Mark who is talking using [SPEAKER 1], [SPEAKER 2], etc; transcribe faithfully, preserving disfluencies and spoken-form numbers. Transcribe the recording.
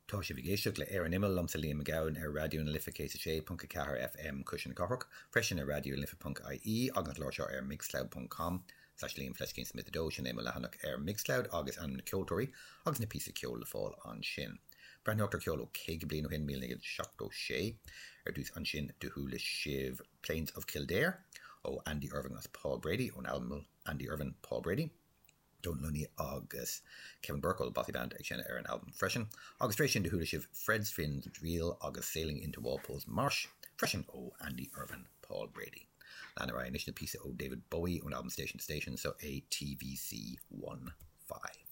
[SPEAKER 1] Tá sibh ag éisteacht le Ar an Imeall liomsa Liam Mac Gabhann ar Raidió na Life céad a sé ponc a ceathair FM Cuisle na Cathrach, freisin ar Raidió Life ponc IE agus an clár seo ar mixcloud ponc com slash Liam Fleiscín Smith a dó sin é mo leathanach ar Mixcloud agus ainm na ceoltóirí agus na píosa ceoil le fáil ansin. Breathnócht ar ceol ó caoga bliain ó shin míle naoi gcéad seachtó sé ar dtús ansin do chuala sibh Plains of Kildare ó Andy Irvine agus Paul Brady ón albam Andy Irvine Paul Brady. Donal Lunny agus Kevin Burke ó Bothy Band ag seinm ar an albam freisin, agus tar éis sin do chuala sibh Fred's Finn's Reel agus Sailing into Walpole's Marsh freisin ó Andy Irvine Paul Brady. Lean ar aghaidh anois le píosa ó David Bowie ón albam Station to Station so A TVC one five.